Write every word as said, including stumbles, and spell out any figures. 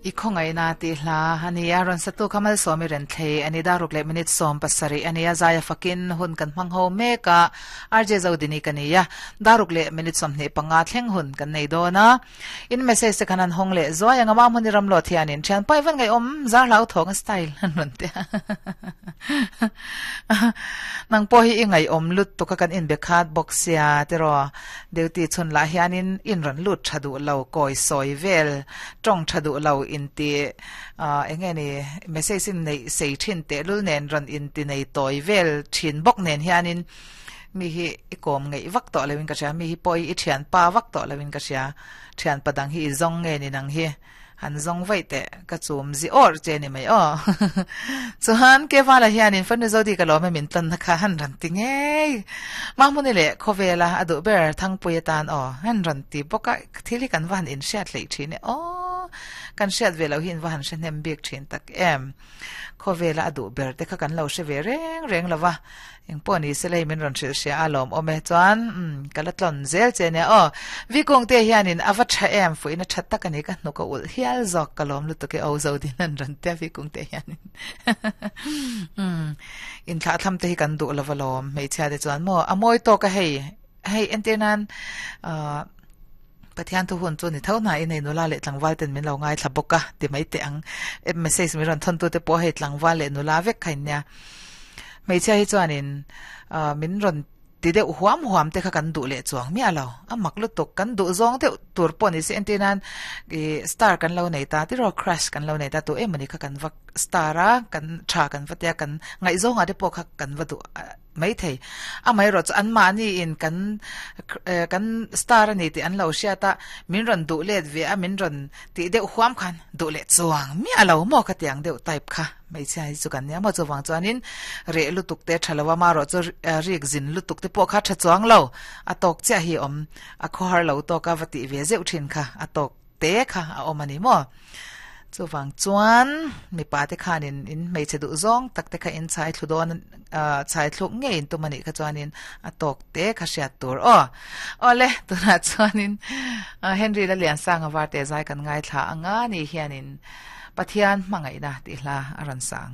I khawngaihna tih hla a ni a, rawn satu kha Malsawmi Renthlei a ni. Daruk leh minute sawm pasarih a ni a, zaia fakin hun kan hmang ho mek a, R J Zodini ka ni a, daruk leh minute sawmhnih panga thleng hun kan nei dawn a. In message te khan an hawng leh zuai ang a, Mamhuni Ramlo thianin thian pai van ngaihawm zar hlau thawng a style an rawn ti a. Nang pawh hi i ngaihawm lut tuk a kan inbe khat bawk sia tiraw Duty chhun lah hianin in rawn lut tha duh lo kawi sawi vel tawng tha duh lo inti eng nge ni message in neih sei thin tehlul nen rawn inti nei tawi vel thin bawk nen hianin mi hi i kawm ngeih vak tawh loin ka hria mi hi pawh i thian pa vak tawh loin ka hria thian pa dang hi i zawng nge ni nang hi Han zawng vaih teh, ka chum zi awr che ni mai aw. Chuan Kevala hianin Fanu Zodi ka lawm e min tlawn na kha han rawn ti ngei. Mahmuni leh Khawvela a duh ber Thangpui atan aw han rawn ti bawk a, thil hi kan va han inhriat hleih thin e aw. Kan hriat ve loh hi in va han hre hnem bik thin tak em. Khawvela a duh ber te kha kan lo hre ve reng reng lo va. Engpawh ni se lei min rawn hrilh hria a lawm awm e chuan umm ka la tlawn zel che nia aw. Vikungte hianin a va tha em fuihna tha tak a ni ka hnuk a ulh hial zawk ka lawm lutuk e aw Zodin an rawn tia Vikungte hianin umm inthlah thlam te hi kan duh lova lawm hmeichhia te chuan maw a mawi tawk a hei hei entir nan ahh Pathian thu hun chu ni tho hna in hei nula leh tlangval ten min lo ngaithla bawk a ti mai teh ang message min rawn thawn tu te pawh hei tlangval leh nula vek kha in nia. Hmeichhia hi chuanin min rawn ti deuh huam huam te kha kan duh leh chuang miah lo. A mak lutuk, kan duh zawng deuh tur pawh ni se entir nan ih star kan lo nei ta tiraw crush kan lo nei ta tu emawni kha kan va star a, kan tha kan va tia kan ngaihzawngah te pawh kha kan va duh maithei. Amaherawh chu anmahni in kan kan star a ni tih an lo hriat a, min rawn duh let ve a, min rawn tih deuh huam khan duh leh chuang miah lo maw ka tiang deuh type kha. Hmeichhia hi chu kan nia maw chuvang chuanin reh lutuk te tha lo a marawh chu rik zin lutuk te pawh kha tha chuang lo a tawk chiah hi awm a khawhar lo tawk a va tih ve zeuh thin kha a tawk te kha a awm a ni maw chuvang chuan mipa te khanin in hmeichhe duh zawng tak te kha in chhai thlu dawn chhai thluk ngei in tum a nih kha chuanin a tawk te kha hriat tur aw awle tunah chuanin Henry Laliansanga Varte zai kan ngaithla anga ni hianin Pathian hmangaihna tih hla a rawn sang.